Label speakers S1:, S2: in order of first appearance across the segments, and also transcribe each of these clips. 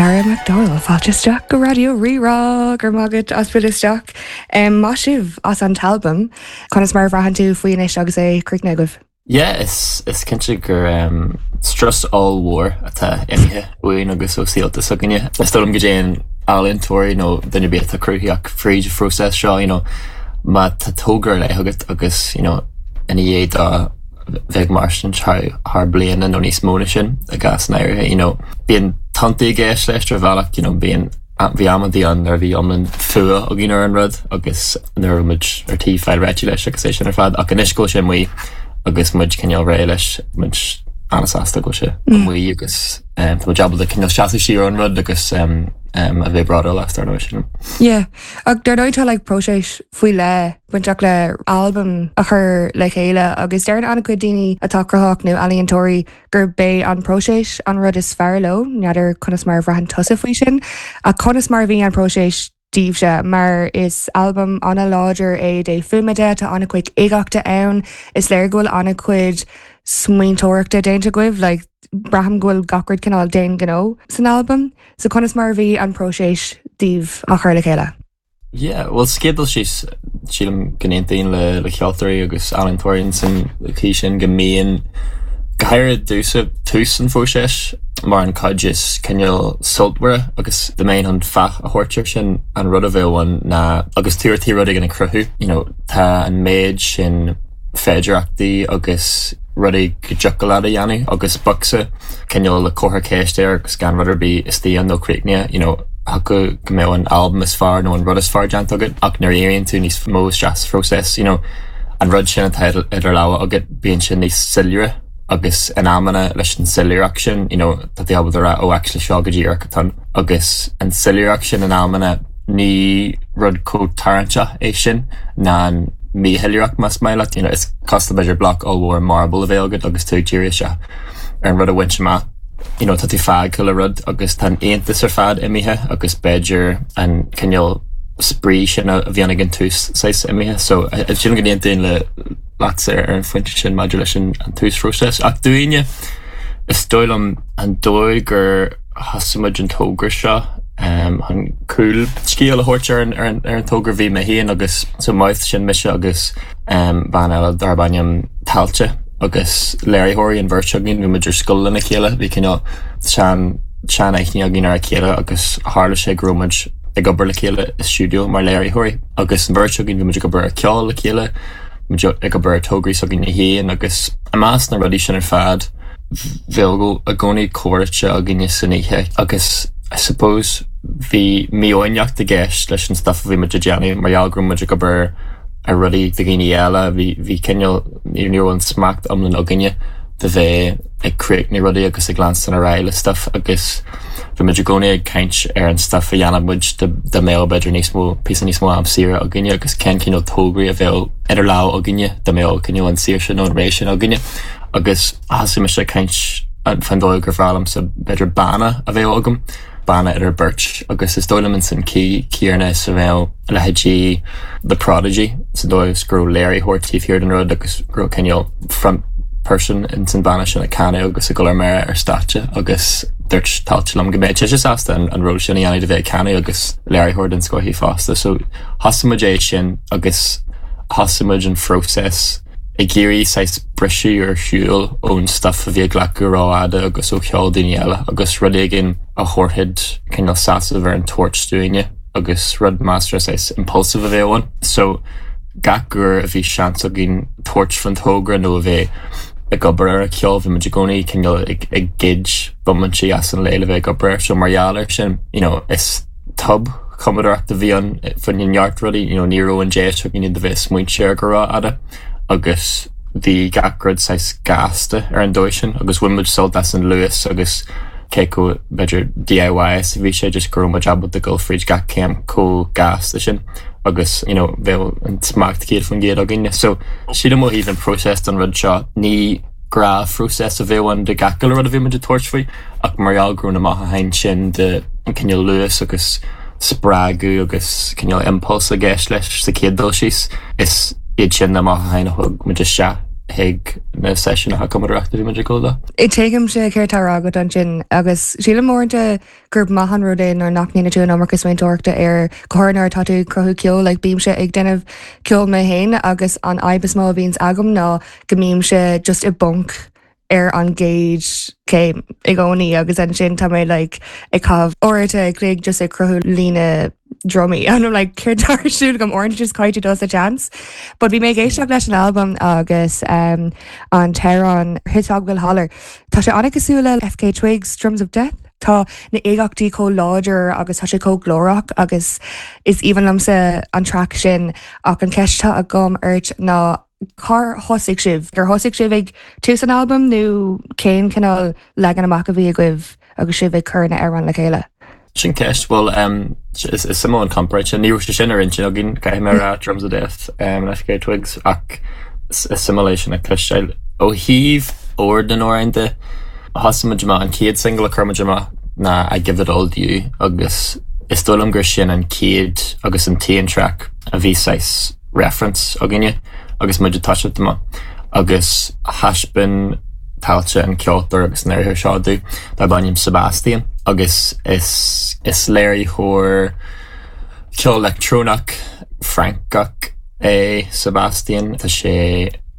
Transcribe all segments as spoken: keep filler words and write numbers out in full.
S1: Dara McDowell fáilte isteach go Raidió Rí-Rá gur mágad as isteach. Um, Maith sibh as an t-albam conas mar a bhraitheann tú faoi anois agus é críochnaithe agaibh.
S2: Yeah, is is cinnte gur um, strus ollmhór atá imithe uainn agus ó saolta s'againne. Is dóigh liom go dtéann ealaíontóirí nó duine ar bith atá cruthaitheach fríd phróiseas seo you know, má tá togra ar leith agat agus you know, ina dhiaidh dó bheith mar sin thar bliana nó níos mó ná sin i gcás áirithe you know, bíonn tonntaí i gceist leis ar bhealach you know, bíonn bhí amanna ann nuair a bhí iomlán fuath againn ar an rud agus nuair muid ar tí fáil réidh leis agus é sin ar fad ach anois go sé amuigh agus muid cineál réidh leis muid an-sásta go sé amuigh agus um, tá ábalta cineál seasamh siar an rud agus um, um, a bheith bródúil as ar sin.
S1: Yeah, ach dar ndóigh tá like, próiseas faoi leith bainteach le albam a chur le chéile agus deir an-chuid daoine atá cruthaitheach nó ealaíontóirí gurb é an próiseas an rud is fearr leo, n'fheadar conas mar a bhraitheann tusa faoi sin, a conas mar bhí an próiseas daoibhse mar is albam an-láidir é de fuaime tá an-chuid uigeachta ann is léir go bhfuil an-chuid smaointeoireachta déanta agaibh, like, braithim go bhfuil gach rud cineál d'aon ghnó san albam, so conas mar bhí an próiseas daoibh á chur le chéile.
S2: Yeah, well scéal síos sílim go n-aontaím le le ceoltóirí agus ealaíontóirí san chaoi sin go mbíonn go háirithe dúsa tús an phróisis mar an chuid is cineál sultmhaire agus de méin an fáth a thabhairt air sin an rud a bheith ann ná agus tú ar tí rud éigin a chruthú you know, tá an méid sin féidearthachtaí agus rudaí go dtiocfadh leat a dhéanamh agus bocsa cineál le comhartha ceiste air agus gan rud ar bith istigh ann nó críochnaithe you know, thiocfadh go mbeadh an albam is fearr nó an rud is fearr déanta agat ach nuair a éiríonn tú níos mó isteach sa phróiseas you know, an rud sin atá idir lámha agat bíonn sin níos soiléire agus in amanna leis an soiléireacht sin you know, tá tú ábalta rá ó actually seo go díreach atá agus an soiléireacht sin in amanna ní rud chomh tarraingteach é sin ná an míshoiléireacht más maith leat you know, is cosúil b'fhéidir bloc ollmhór marble a bheith agat agus tú ag díriú isteach ar an rud a bhaint amach. You know, tá tú fágtha le rud agus tá an t-iontas ar fad imithe agus b'fhéidir an cineál spraoi sin a bhíonn ag an tús saghas imithe, so sin go n-aontaím le leat ar an phointe sin maidir leis an an túsphróiseas. Ach dúinne is dóigh liom an dóigh gur thosaigh muid an togra seo um, an cúlscéal a thabhairt ar an, ar an, ar an togra bhí mé féin agus so Mouth sin mise agus um, bean eile darb ainm Tailte agus léiritheoirí an bheirt againn bhí muid ar scoil lena chéile bhí cineál sean sean-aithne againn ar a chéile agus tharla sé go raibh muid ag obair le chéile i stiúideo mar léiritheoirí agus an bheirt againn bhí muid ag obair ar ceol le chéile muid ag obair ar tograí s'againn féin agus i measc na rudaí sin ar fad bheadh i gcónaí comhráite againne san oíche agus I suppose bhí mífhoighneacht i gceist leis an stuff a bhí muid ag déanamh mar gheall go raibh muid ag obair ar rudaí do dhaoine eile bhí bhí cineál ní raibh an smacht iomlán againne de bheith ag críochnú rudaí agus ag leanstan ar aghaidh le stuff agus bhí muid i gcónaí ag caint ar an stuff a dhéanamh muid dá mbeadh b'fhéidir níos mó píosa níos mó am saoire againne agus cén cineál tograí a bheadh idir lámha againne dá mbeadh cineál an saoirse nó an ré sin againne agus thosaigh mise ag caint fan dóigh gur bhreá liomsa b'fhéidir banna a bheith agam banna idir beirt agus is dóigh liom san chaoi chéanna is a bheadh leithéidí The Prodigy sa dóigh is go raibh léiritheoir taobh thiar den rud agus go raibh cineál front person in san banna sin ag canadh agus ag dul ar mire ar stáitse agus dúirt Tailte liom go mbeadh sé sásta an, an ról sin a dhéanamh de bheith ag canadh agus léiritheoir den scoth í fosta so thosaigh muid é sin agus thosaigh muid an phróiseas ag iarraidh saghas briseadh ar shiúl ón stuff a bhí ag glacadh rófhada agus ó cheol daoine eile agus rud éigin a thabharfadh cineál sásamh ar an toirt dúinne agus rud measartha saghas impulsive a bheith ann. So gach uair a bhí seans againn tabhairt faoin togra nó a bheith ag obair ar a ceol bhí muid i gcónaí cineál ag ag goid bomaintí as an lá le bheith ag obair air so mar gheall air sin you know, is tobchumadóireacht a bhí ann faoi neart rudaí you know, ní raibh an deis againn de bheith smaointe ar go rófhada agus bhí gach rud saghas gasta ar an dóigh sin agus bhain muid sult as an luas agus cé chomh b'fhéidir DIY is a bhí sé just go raibh muid ábalta dul fríd gach céim chomh gasta sin agus you know, bheadh an smacht céad faoin gcéad againne. So sílim ó thaobh an próiseas don rud seo ní gnáthphróiseas a bheadh ann de gach uile rud a bhí muid ag tabhairt faoi ach mar gheall go raibh na mothúcháin sin de an cineál luas agus spreagadh agus cineál impulse i gceist leis sa chéad dul síos is iad sin na mothúcháin a thug muid isteach chuig na seisiúin cumadóireachta bhí muid ag dul.
S1: Tuigimse céard atá á rá agat ansin agus sílim uaireanta gur maith an rud é nuair nach ndéanann tú an iomarca smaointeoireachta ar go nuair atá tú cruthú ceol like bímse ag déanamh ceol mé féin agus an fhadhb is mó a bhíonns agam ná go mbímse just i bponc ar an gcéad céim i gcónaí agus ansin tá mé like ag caitheamh uaireanta ag cloig just ag cruthú líne drumaí and I'm like céard atá ar siúl agam orange just caithfidh dul a chance. But bhí mé ag éisteacht leis an album agus um, an t-amhrán Hitog Will Holler. Tá sé an-chosúil le FKA Twigs Drums of Death. Tá na uigeachtaí chomh láidir agus tá sé chomh glórach agus is aoibhinn liomsa an track sin ach an cheist atá agam ort ná cár thosaigh sibh gur thosaigh sibh ag tús an album nó cén cineál leagan amach a bhí agaibh agus sibh ag cur na hamhráin le chéile.
S2: Sin ceist well um, is is suimiúil an comparáid sin ní raibh sé sin ar intinn againn caithfidh mé rá Drums of Death um, FKA Twigs ach is suimiúil sin a chloisteáil ó thaobh ord na n-amhrán de thosaigh muid amach an chéad single a chuir muid amach ná I Give It All to You agus is dóigh liom gur sin an chéad agus an t-aon track a bhí saghas reference againne agus muid ag toiseacht amach agus thaispeáin Tailte an ceoltóir agus léiritheoir seo dúinn darb ainm Sebastian agus is is léiritheoir ceol leictreonach Francach é Sebastian Tá sé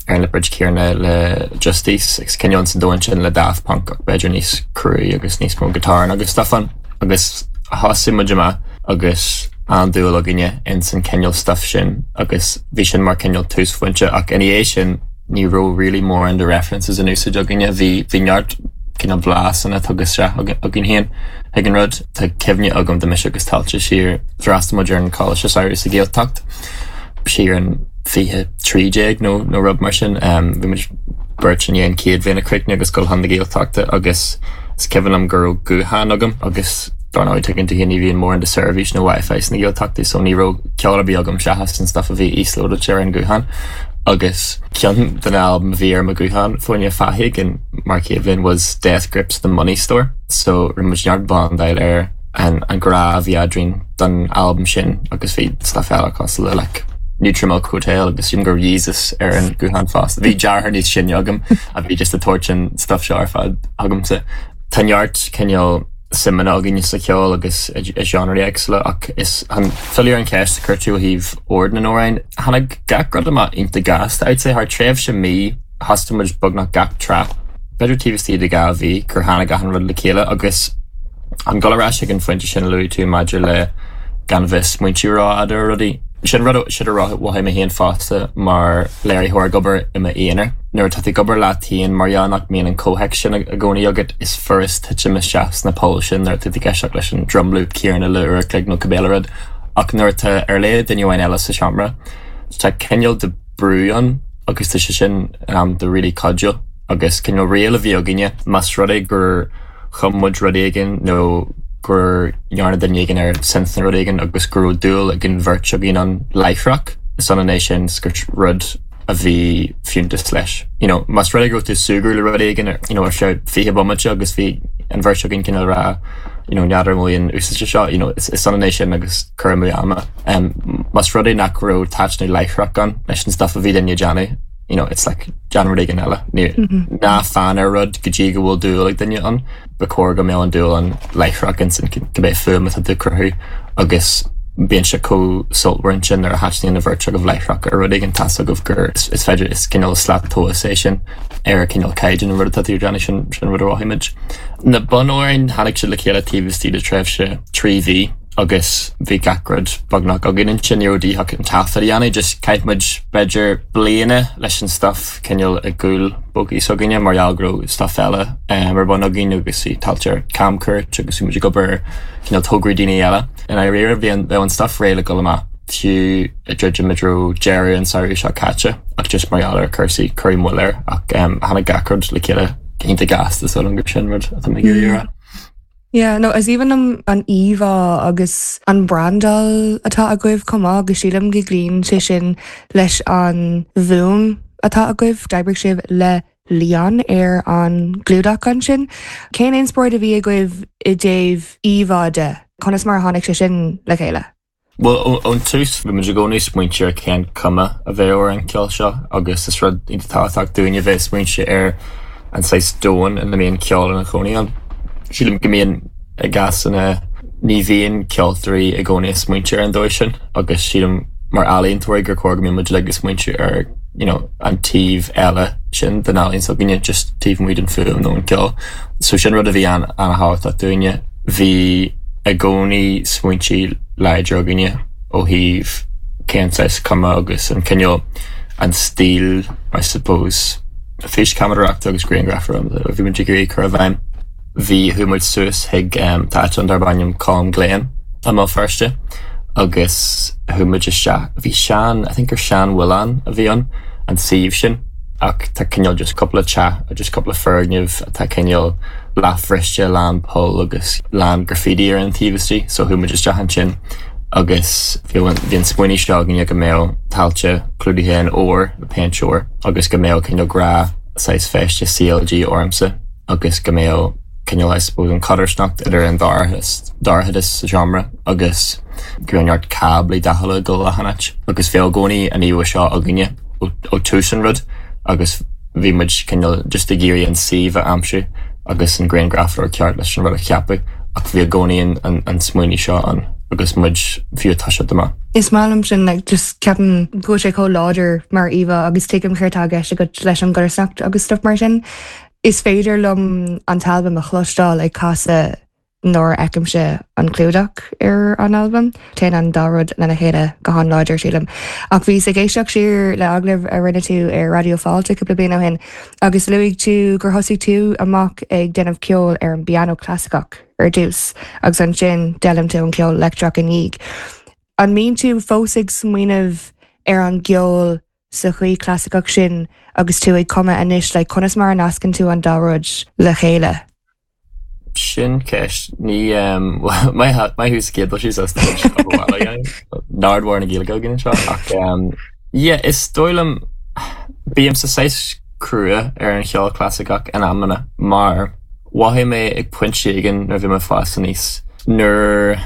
S2: ar an liopard céanna le Justice agus cineál sa domhan sin le Daft Punk ach b'fhéidir níos cruaí agus níos mó guitar agus stuff ann agus thosaigh muid amach agus an-dúil againne in san cineál stuff sin agus bhí sin mar cineál túsphointe ach ina dhiaidh sin ní raibh really mórán de references in úsáid againne bhí bhí neart cineál blasanna tugtha isteach againn féin ag an rud tá cuimhne agam de mise agus Tailte siar d'fhreastail muid ar an choláiste samhraidh sa Ghaeltacht siar an fiche trí déag nó nó rud mar sin bhí muid beirt i ndiaidh an chéad bhliain a chríochnú agus dul chun na Gaeltachta agus is cuimhin liom go raibh guthán agam agus dar ndóigh tuigeann tú ní bhíonn mórán de seirbhís nó Wi-Fi sna Gaeltachtaí so ní raibh ceol ar bith agam seachas an stuff a bhí íoslódáilte ar an guthán agus ceann den album a bhí ar mo ghuthán fáinne fathaigh in mar chéad bhliain was Death Grips the Money Store so rinne muid neart bondáil ar an an grá a bhí eadrainn don album sin agus bhí stuff eile cosúil le like Neutral Milk Hotel agus sin gur Yeezus ar an guthán fosta. Bhí deartháir níos sine agam a bhí just ag tabhairt an stuff seo ar fad agamsa. Tá neart cineál suimeanna againne sa cheol agus i genre éagsúla ach is an filleadh an cheist a chuir tú ó thaobh ord na n-amhrán. Tháinig gach rud amach iontach gasta I'd say thar tréimhse mí thosaigh muid beagnach gach track. B'fhéidir taobh istigh de dhá mhí gur tháinig achan rud le chéile agus an dul ar ais ag an phointe sin a luaigh tú maidir le gan bheith smaointiú rófhada ar rudaí. Sin rud sin a mhothaigh mé féin fosta mar léiritheoir ag obair i m'aonar. Nuair atá tú ag obair leat féin mar gheall nach mbíonn an comhthéacs sin i gcónaí agat is furast titim isteach sna poill sin nuair atá tú ag éisteacht leis an drum loop céanna le uair a chloig nó cibé rud. Ach nuair atá ar leith duine amháin eile sa seomra, tá cineál de brú ann agus tá sé sin um, de really cuidiúil agus cineál riail a bhí againne más rud é gur chum muid rud éigin nó gur dhearna duine éigin ar synth nó rud éigin agus go raibh dúil ag an bheirt againn ann láithreach is ionann é sin gur rud a bhí fiúntas leis. You know, más rud é go raibh tú súgradh le rud éigin you know, ar feadh fiche bomaite agus bhí an bheirt againn cineál rá you know, n'fheadar an bhfuil an úsáid seo, you know, is, is ionann é sin agus cur amú ama. Um, más rud é nach raibh taitneamh láithreach ann leis an stuff a bhí duine ag déanamh, you know, it's like déan rud éigin eile. Ní ná fan ar rud go dtí go bhfuil dúil ag duine ann, ba chóir go mbeadh an dúil ann láithreach ansin cibé fuaim atá tú ag cruthú agus bíonn sé chomh sultmhar ansin nuair a thaitníonn an bheirt agaibh láithreach ar rud éigin tá a fhios agaibh gur is, is féidir is cineál slat tomhais é sin ar cineál caighdeán an rud atá tú ag déanamh sin sin rud a mhothaigh muid. Na bunamhráin tháinig siad le chéile taobh istigh de tréimhse trí mhí agus bhí gach rud beagnach againn ansin ní raibh de dhíth ach an taifead a dhéanamh, just chaith muid b'fhéidir bliana leis an stuff cineál i gcúl bógaí s'againne mar gheall go raibh stuff eile um, ar bun againn agus bhí Tailte ar camchuairt agus bhí muid ag obair cineál tograí daoine eile. In áiríre bhí an bheadh an stuff réidh le dul amach fiú i dtríd muid deireadh an samhradh seo caite ach just mar gheall ar cúrsaí cuireadh moill air ach um, tháinig gach rud le chéile iontach gasta so gur sin rud atá mé ag iarraidh a rá.
S1: Yeah, no, is aoibhinn liom an íomhá agus an brandáil atá agaibh chomh maith agus sílim go gcloíonn sé sin leis an bhfuaim atá agaibh d'oibrigh sibh le Leon ar an gclúdach ansin. Cén inspioráid a bhí agaibh i dtaobh íomhá de? Conas mar a tháinig sé sin le chéile?
S2: Well ón tús bhí muid i gcónaí smaointe ar cén cuma a bheadh ar an ceol seo agus is rud iontach tábhachtach dúinne bheith smaointe ar an saghas domhan ina mbíonn ceol ina chónaí ann. Sílim go mbíonn i gcásanna ní bhíonn ceoltóirí i gcónaí ag smaointe ar an dóigh sin agus sílim mar ealaíontóirí gur chóir go mbíonn muid ag smaointe ar you know, an taobh eile sin den ealaín s'againne just taobh amuigh den fuaim nó an ceol. So sin rud a bhí an an-tábhachtach dúinne. Bhí i gcónaí smaointe láidir againne ó thaobh cén saghas cuma agus an cineál an stíl I suppose físcheamaireachta agus grianghrafadóireachta a bhí muid ag iarraidh cur i bhfeidhm. Bhí chuaigh muid suas chuig um, áit darb ainm Com Glen i mBéal Feirste agus chuaigh muid isteach bhí sean I think gur seanmhuileann a bhí ann an suíomh sin ach tá cineál just cúpla teach just cúpla foirgneamh atá cineál leathbhriste lán poll agus lán graffiti ar an taobh istigh so chuaigh muid isteach ansin agus bhí an smaoineamh seo againne go mbeadh tailte clúdaithe in ór le péint óir agus go mbeadh cineál grá saghas feiste CLG ormsa agus go mbeadh cineál I suppose an chodarsnacht idir an dorchadas sa seomra agus go neart cáblaí dathacha go leathanait agus bhí i gcónaí an íomhá seo againne ó tús an rud agus bhí muid cineál just ag iarraidh an suíomh a aimsiú agus an grianghrafadóir ceart leis an rud a cheapadh ach bhí i gcónaí an, an smaoineamh seo an agus muid fiú tá sé amach.
S1: Is maith liom sin like, just ceapaim go sé chomh láidir mar íomhá agus tuigim céard atá i gceist agat leis an gcodarsnacht agus stuff mar sin. Is féidir liom an t-albam a chloisteáil ag casadh nuair a fheicimse an clúdach ar an albam, Téann an dá rud lena chéile go han-láidir sílim. Ach bhíos ag éisteacht siar le agallamh a rinne tú ar Raidió Fáilte cúpla bliain ó shin, agus luaigh tú gur thosaigh tú amach ag déanamh ceol ar an bpianó clasaiceach ar dtús, agus ansin d'fhoghlaim tú an ceol leictreach ina dhiaidh. An mbíonn tú fós ag smaoineamh ar an gceol sa chaoi clasaiceach sin agus tú ag cumadh anois le conas mar a nascann tú an dá rud le chéile.
S2: Sin ceist ní maith thú céad sí Nardhar na Gaeilge gin seo ach yeah, is dóigh liom bímse saghas crua ar an cheol clasaiceach in amanna mar mhothaigh mé ag pointe éigin nuair bhí mé ag fás aníos nuair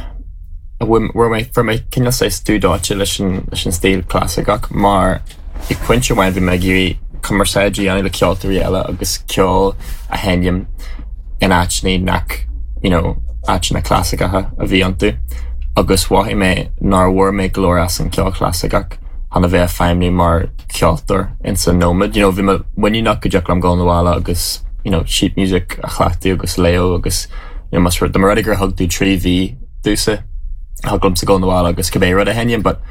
S2: a bhfuair mé fuair mé cineál saghas dúdáite leis an leis an stíl clasaiceach mar ag pointe amháin bhí mé ag iarraidh cumarsáid a dhéanamh le ceoltóirí eile agus ceol a sheinm in áiteanna nach you know, áiteanna clasaiceacha a bhí iontu agus mhothaigh mé nár bhain mé go leor as an ceol clasaiceach chun a bheith ag feidhmiú mar cheoltóir in san nóiméad. You know, bhí mé muiníneach go dtiocfadh liom dul abhaile agus you know, sheet music a chleachtadh agus léamh agus you know, mas rud mar gur thug tú trí mhí domhsa thig liomsa dul abhaile agus cibé rud a sheinm, but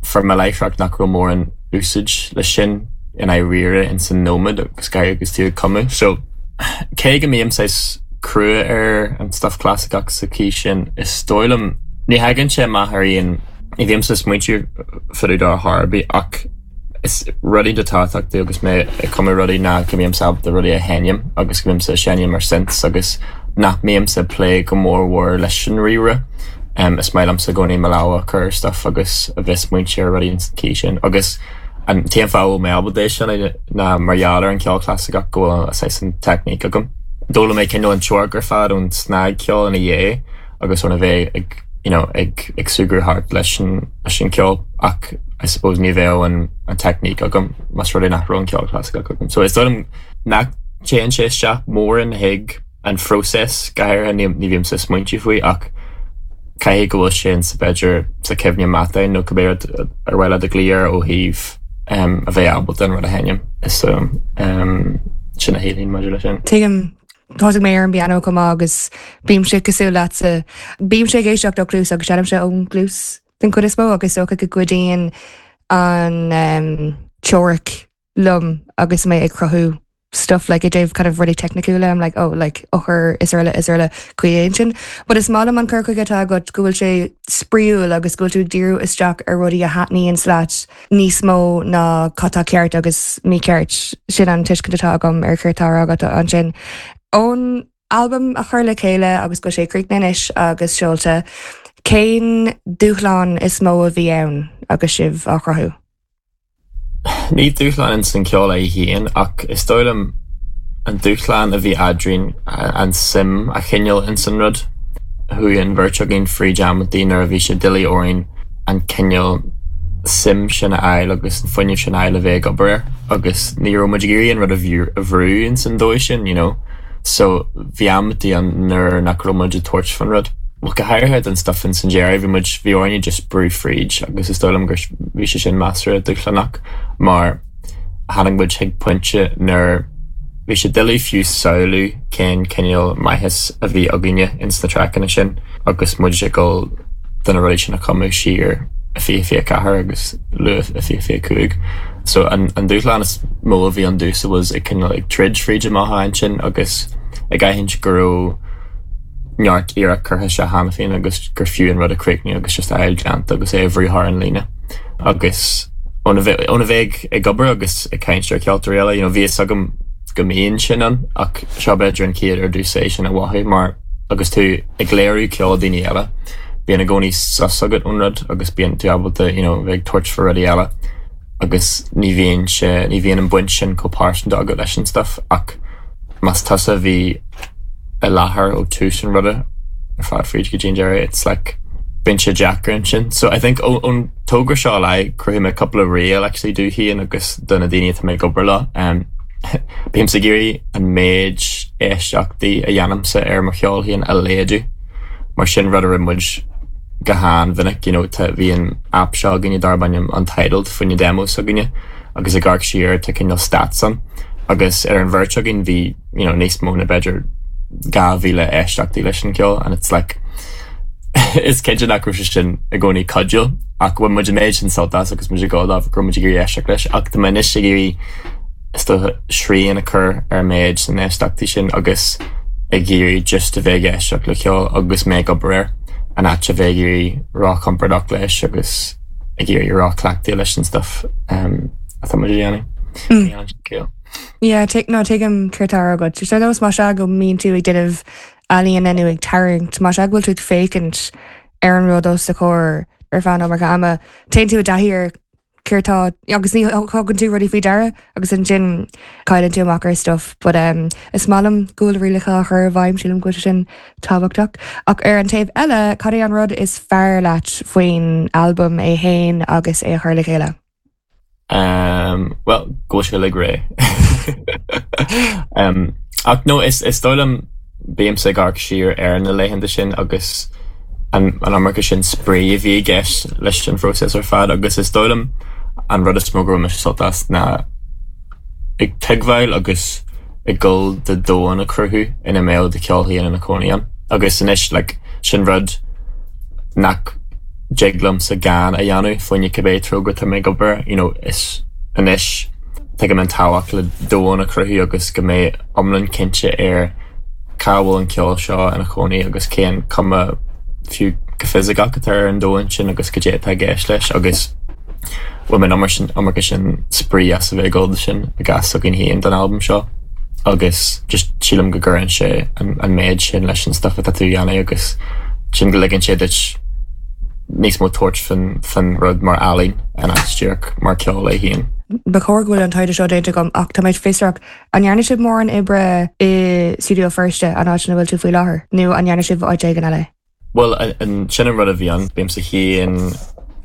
S2: fuair mé láithreach nach raibh mórán úsáid leis sin i ndáiríre in san nóiméad agus ga agus tú ag cumadh. So cé go mbím saghas crua ar an stuff clasaiceach sa chaoi sin is dóigh liom ní thagann sé amach ar aon ní bhímse ag smaointiú fá dtaobh ar bith ach is rudaí tábhachtach agus mé ag cumadh rudaí ná go mbímse ábalta rudaí a sheinm agus go mbímse seinm ar synths agus nach mbímse ag plé go mórmhór leis an ríomhaire. Um, is maith liomsa i gcónaí mo lámha a chur stuff agus a bheith smaointe ar rudaí an chaoi sin agus an t-aon fáth mé ábalta é sin ná mar gheall ar an ceol clasaiceach go bhfuil saghas an teicníc agam. D'fhoghlaim mé cineál an teoiric ar fad ón snagcheol ina dhiaidh agus óna bheith ag you know, ag ag súgradh thart leis an leis an ceol ach I suppose ní bheadh an an teicníc agam más rud é nach raibh an ceol clasaiceach agam. So is dóigh liom nach dtéann sé isteach mórán chuig an phróiseas go háirithe ní ní bhímse ag smaointiú faoi ach caithfidh go bhfuil sin sa b'fhéidir sa chuimhne meatáin nó cibé rud ar mhaith leat a ghlaoch air ó thaobh um, a bheith ábalta an rud a sheinm is um, um, sin a shílim maidir leis sin.
S1: Tuigim Thosaigh mé ar an bpianó chomh maith agus bímse cosúil leatsa bímse ag éisteacht ó chluas agus seinnimse ón gcluas den chuid is mó agus dócha go gcuidíonn an um, teoiric liom agus mé ag cruthú stuff like i dtaobh kind of rudaí teicniúla I'm like oh like eochair is eile is eile cuidíonn sin but is maith liom an cur chuige atá agat go bhfuil sé spraíúil agus go bhfuil tú ag díriú isteach ar rudaí a thaitníonn leat níos mó ná cad atá ceart agus mícheart sin an tuiscint atá agam ar céard atá agat ansin ón albam a chur le chéile agus go sé críochnaithe anois agus seolta cén dúshlán is mó a bhí ann agus sibh á chruthú.
S2: Ní dúshlán san ceol é féin ach is dóigh liom an dúshlán a bhí eadrainn an suim a choinneáil in san rud. Chuaigh an bheirt againn fríd amantaí nuair a bhí sé doiligh orainn an cineál suim sin a fháil agus an fuinneamh sin a fháil a bheith ag obair agus ní raibh muid ag iarraidh an rud a bhrú a bhrú in san dóigh sin, you know. So bhí amantaí ann nuair nach raibh muid ag tabhairt faoin rud. Well go háirithe den stuff in san deireadh bhí muid bhí orainne just brú fríd agus is dóigh liom gur bhí sé sin measartha dúshlánach mar tháinig muid chuig pointe nuair bhí sé doiligh fiú samhlú cén cineál maitheas a bhí againne ins na traiceanna sin agus muid ag dul do na rudaí sin a chumadh siar i fiche fiche ceathair agus luath i fiche fiche cúig. So an, an dúshlán is mó a bhí ann domhsa was ag cineál ag troid fríd amach ansin agus ag aithint go raibh neart iarracht curtha isteach cheana féin agus gur fiú an rud a chríochnú agus just a fháil déanta agus é a bhrú thar an líne. Agus óna bheith óna bheith ag obair agus ag caint ar cheoltóirí eile, you know, bhí fhios agam go mbíonn sin ann ach seo b'fhéidir an chéad uair domhsa é sin a mhothú mar agus tú ag léiriú ceol daoine eile. Bíonn i gcónaí sos agat ón rud agus bíonn tú ábalta you know, bheith ag tabhairt faoi rudaí eile agus ní bhíonn sé ní bhíonn an baint sin chomh pearsanta agat leis an stuff ach más tusa a bhí i láthair ó tús an ruda ar fad fríd go dtí an deireadh it's like bíonn sé deacair ansin. So I think ón togra seo le chruthaigh mé cúpla riail actually domh féin agus do na daoine atá mé ag obair leo. Um, Bímse ag iarraidh an méid éisteachtaí a dhéanaimse ar mo cheol féin a laghdú mar sin rud a rinne muid go han-mhinic you know, tá bhí an app seo againne darb ainm Untitled faoi na demos againne agus ag amharc siar tá cineál stats ann agus ar an bheirt againn bhí you know, níos mó na b'fhéidir dhá mhíle éisteachtaí leis an ceol and it's like is cinnte nach raibh sé sin i gcónaí cuidiúil ach bhain muid an méid sin sult as agus muid ag gabháil go raibh muid ag iarraidh éisteacht leis ach tá mé anois ag iarraidh is dócha srian a chur ar an méid san éisteachtaí sin agus ag iarraidh just a bheith ag éisteacht le ceol agus mé ag obair air an áit a bheith ag iarraidh róchompordach leis agus ag iarraidh róchleachtaithe leis an stuff um, atá muid a dhéanamh. Mm.
S1: Yeah, take no tuigim céard atá agat. Sé nós má sé go mbíonn tú ag déanamh ealaíona nó ag tarraingt má sé go bhfuil tú ag féachaint ar an rud os do chomhair ar feadh an iomarca ama. Téann tú i dtaithí ar céard atá agus ní thugann tú rudaí faoi deara agus ansin cailleann tú amach ar stuff, but um, is maith liom go bhfuil rialacha á chur i bhfeidhm sílim go bhfuil sé sin tábhachtach. Ach ar an taobh eile, cad é an rud is fearr leat faoin albam é féin agus é a chur le chéile?
S2: Um, well, go sé le ré. um, ach no is is dóigh liom bímse ag amharc siar ar na laethanta sin agus an an iomarca sin spraoi a bhí i gceist leis an phróiseas ar fad agus is dóigh liom an rud is mó go raibh mise sult as ná ag tuigbheáil agus ag dul do domhan a chruthú ina mbeadh do cheol féin ina chónaí ann. Agus anois like, sin rud nach dtig liomsa gan a dhéanamh fá choinne cibé togra atá mé ag obair, you know, is anois tuigim an tábhacht le domhan a chruthú agus go mbeidh iomlán cinnte ar cá bhfuil an ceol seo ina chónaí agus cén cuma fiú go fisiceach atá ar an domhan sin agus cad é atá i gceist leis agus bhain mé an sin iomarca sin spraoi as a bheith ag dul sin i gcás againn féin don albam seo agus just sílim go gcuireann sé an, an méid sin leis an stuff atá tú a dhéanamh agus sin go ligeann sé duit níos mó tabhairt faoin faoin rud mar ealaín in áit díreach mar ceol é féin.
S1: Ba chóir go bhfuil an taighde seo déanta agam ach tá mé fiosrach an ndearna sibh mórán oibre i Studio Feirste an áit ina bhfuil tú faoi láthair nó an ndearna sibh áit éigin eile?
S2: Well an sin an rud a bhí ann bímse féin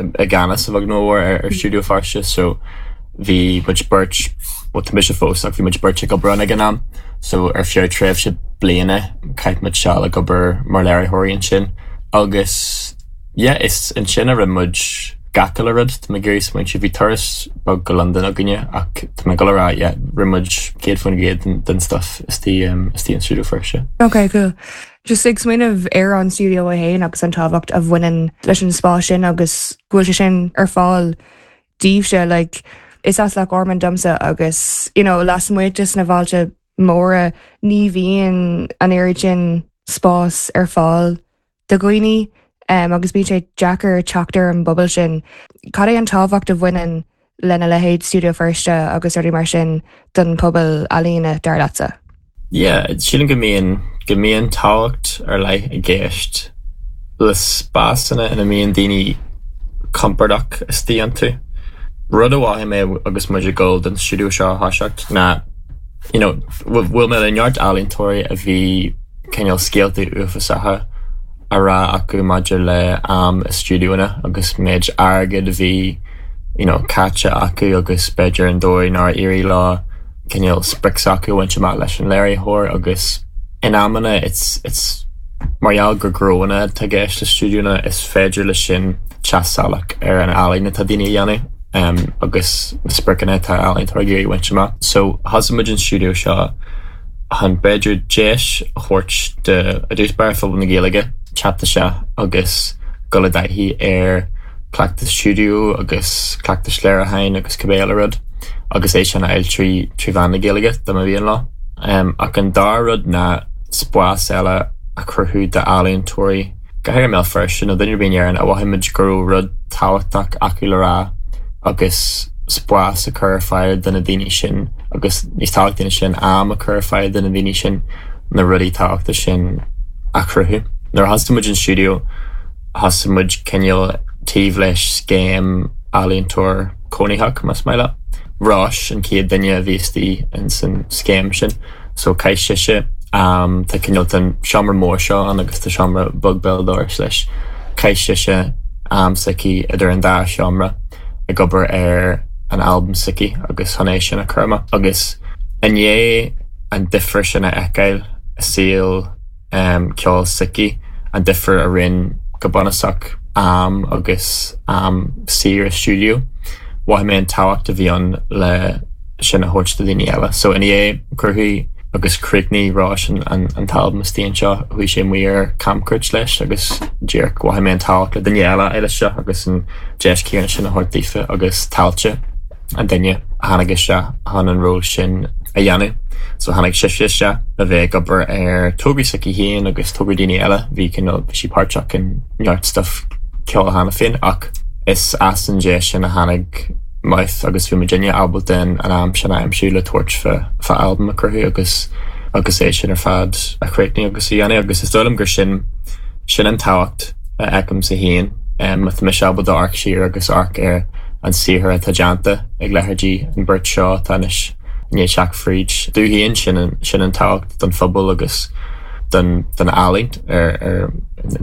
S2: i gceannas a bheag nó a mhór ar, ar Studio Feirste so bhí muid beirt well tá mise fós ach bhí muid beirt ag obair ann ag an am so ar feadh tréimhse bliana chaith muid seal ag obair mar léiritheoirí ansin agus yeah, is ansin a rinne muid gach uile rud Tá mé ag iarraidh smaointiú bhí turas beag go Londain againne ach tá mé ag dul a rá yeah, rinne muid céad faoin gcéad den, den stuff istigh um, istigh an Studio Feirste.
S1: Ok, cool. Just ag smaoineamh ar an studio é féin agus an tábhacht a bhaineann leis an spás sin agus go bhfuil sé sin ar fáil daoibhse like, is as Loch Garman domsa agus you know, lasmuigh de na bailte móra ní bhíonn an oiread sin spás ar fáil do dhaoine um, agus bíonn sé deacair teacht ar an bpobal sin. Cad é an tábhacht a bhaineann lena leithéid Studio Feirste agus rudaí mar sin don pobal ealaíne dar leatsa.
S2: Yeah, sílim go mbíonn go mbíonn tábhacht ar leith i gceist le spásanna ina mbíonn daoine compordach istigh iontu. Rud a mhothaigh mé agus muid ag dul don stiúideo seo a thoiseacht ná you know, bhfuil mé le neart ealaíontóirí a bhí cineál scéalta uafásacha a rá acu maidir le am i stiúideonna agus méid airgid a bhí you know, caite acu agus b'fhéidir an dóigh nár éirigh leo cineál sprioc s'acu a bhaint amach leis an léiritheoir agus in amanna it's it's mar gheall gur gnónna atá i gceist le stiúideonna is féidir leis sin teacht salach ar an ealaín atá daoine a dhéanamh um, agus na spriocanna atá ealaíontóirí ag iarraidh a bhaint amach. So thosaigh muid an stiúideo seo chun b'fhéidir deis a thabhairt do i dtús báire phobal na Gaeilge teacht isteach agus dul i dtaithí ar cleachtas stiúideo agus cleachtas léiriúcháin agus cibé eile rud agus é sin a fháil trí trí mheán na Gaeilge dá mba mhian leo. Um, ach an dara rud ná spás eile a chruthú d'ealaíontóirí go háirithe i mBéal Feirste nó duine ar bith in Éirinn a mhothaigh muid go raibh rud tábhachtach acu le rá agus spás a chur ar fáil do na daoine sin agus níos tábhachtaí ná sin am a chur ar fáil do na daoine sin na rudaí tábhachtacha sin a chruthú. Nuair a thosaigh muid an stiúideo thosaigh muid cineál taobh leis scéim ealaíontóir cónaitheach más maith leat. Róis an chéad duine a bhí istigh in san scéim sin, so chaith sise um, tá cineál an seomra mór seo ann agus tá seomra beag béal dorais leis. Chaith sise am s'aici idir an dá seomra ag obair ar an albam s'aici agus chun é sin a chur amach. Agus i ndiaidh an difear sin a fheiceáil i saol um, ceoil s'aici, an difear a rinne go bunúsach am agus am saor i stiúideo. Mhothaigh mé an tábhacht a bhí ann le sin a thabhairt do daoine eile. So i ndiaidh cruthú agus chríochnaigh Róis an, an, an t-albam istigh anseo, chuaigh sé amuigh ar camchuairt leis agus díreach mhothaigh mé an tábhacht le duine eile eile seo agus an deis chéanna sin a thabhairt daofa agus Tailte an duine a tháinig isteach chun an ról sin a dhéanamh. So tháinig sise isteach a bheith ag obair ar tograí s'aici féin agus tograí daoine eile, bhí cineál bhí sí páirteach in neart stuff ceoil cheana féin ach is as an deis sin a tháinig Mouth agus bhí muidinne ábalta an an am sin a aimsiú le tabhairt fá fá albam a chruthú agus agus é sin ar fad a chríochnú agus a dhéanamh agus is dóigh liom gur sin sin an tábhacht a fheicimse féin um, má tá mise ábalta amharc siar agus amharc ar an saothar atá déanta ag leithéidí an bheirt seo atá anois i ndiaidh teacht fríd. Domh féin sin an sin an tábhacht don phobal agus don don ealaín ar ar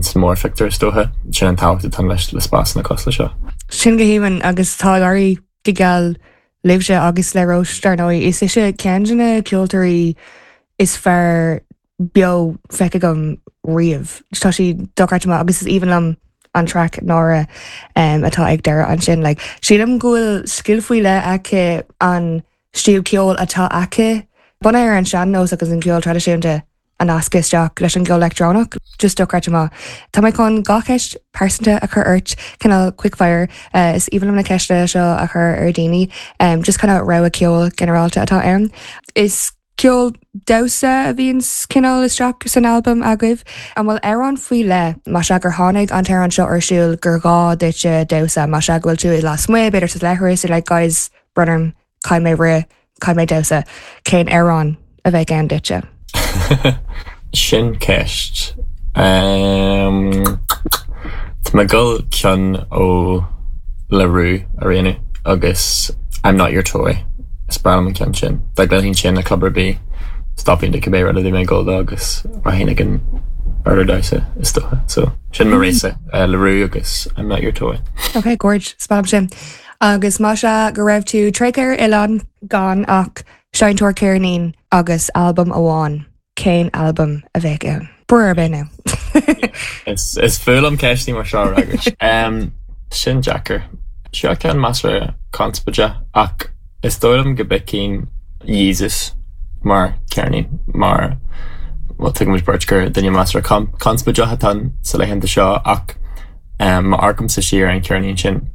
S2: san mórphictiúr is dócha sin an tábhacht atá leis le spásanna cosúil leis seo.
S1: Sin go haoibhinn agus tá ag éirí go geal libhse agus le Róis dar ndóigh. Is ise ceann de na ceoltóirí is fearr beo feicthe agam riamh. Tá sí dochreidte maith agus is aoibhinn liom an track Náire um, atá ag deireadh ansin. Like, sílim go bhfuil scil faoi leith aici an stíl ceoil atá aici. Bunaithe ar an sean-nós agus an ceol traidisiúnta a nascadh isteach leis an gceol leictreonach, just dochreidte maith. Tá mé chun dhá cheist pearsanta a chur ort cineál quickfire uh, is aoibhinn liom na ceiste seo a chur ar daoine, um, just kind of rogha ceol ginearálta atá ann. Is ceol damhsa a bhíonn cineál isteach san albam agaibh, an bhfuil amhrán faoi leith má sea gur tháinig an t-amhrán seo ar siúl gur gá duit damhsa má sea go bhfuil tú i lasmuigh b'fhéidir sa leithreas like guys brón orm caithfidh mé rith caithfidh mé damhsa cén amhrán a bheidh ann duitse.
S2: Sin ceist. Um, Tá mé ag dul ceann ó La Roux a roghnú agus I'm not your toy. Is breá liom an ceann sin. Dá gcluinfinn sin i gclub ar bith stopfainn de cibé rud a bhí mé ag dul dó agus rachainn ag an urlár damhsa is dócha. So sin mo rogha uh, La Roux agus I'm not your toy.
S1: Ok, gorge spam sin. Agus má sea go raibh tú tréigthe ar oileán gan ach seinnteoir ceirnín agus albam amháin cén albam a bheadh ann. Bur ar bith
S2: Is is fuath liom ceistí mar seo agus. Um, sin deacair. Seo ceann measartha conspóideach ach is dóigh liom go bpiocfainn Yeezus mar ceirnín mar well tuigimid beirt gur duine measartha conspóideach atá sa laethanta seo ach um, má amharcaimse siar an ceirnín sin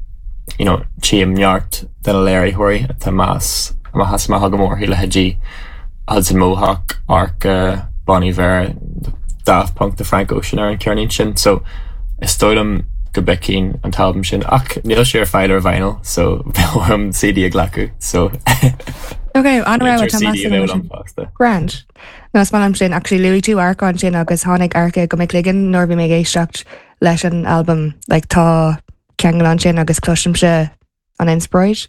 S2: you know, tchím neart de na léiritheoirí atá meas amach maith go mór leithéidí Hudson Mohawke, Arca, Bon Iver, Daft Punk de Frank Ocean ar an ceirnín sin, so is dóigh liom go bpiocfainn an t-albam sin ach níl sé ar fáil ar vinyl, so bheadh orm CD a ghlacadh so
S1: Ok, an-rogha
S2: CD a bheadh liom fosta.
S1: Grand. No is maith liom sin actually luaigh tú Arca ansin agus tháinig Arca go mo chloigeann nuair bhí mé ag éisteacht leis an albam like, tá ceangal ansin agus cloisimse an inspioráid.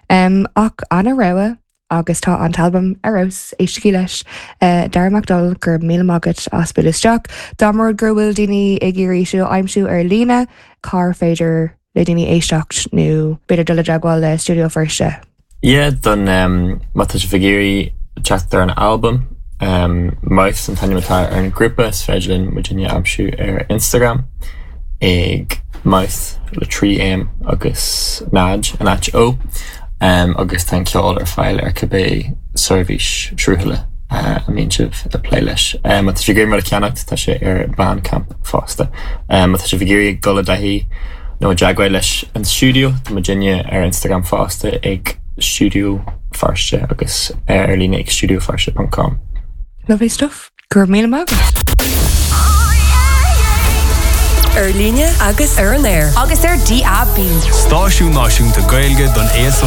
S1: Um, ach an-rogha agus tá an t-albam ar fheabhas éistigí leis uh, Dara Mac Dónaill go raibh míle maith agat as bualadh isteach. Dá mba rud gur bhfuil daoine ag iarraidh sibh a aimsiú ar líne cár féidir le daoine éisteacht nó b'fhéidir dul i dteagmháil le Stiúideo Feirste.
S2: Yeah, don um, má tá sibh ag iarraidh teacht ar an album um, Mouth an t-ainm atá ar an grúpa is féidir linn muidinne aimsiú ar Instagram ag Mouth le trí M agus náid an áit ó um, agus tá an ceol ar fáil ar cibé seirbhís sruthlaithe uh, a mbíonn sibh ag plé leis. Um, tá sé mar a ceannacht tá sé ar Bandcamp fosta. Um, tá sibh ag iarraidh dul i dtaithí nó i dteagmháil leis an stiúideo tá muidinne ar Instagram fosta ag Stiúideo Feirste agus ar líne ag stiúideofeirste.com.
S1: Lovely stuff. Go raibh míle maith agat.
S3: Ar líne agus ar an aer.
S4: Agus ar DAB.
S5: Stáisiún Náisiúnta Gaeilge don aos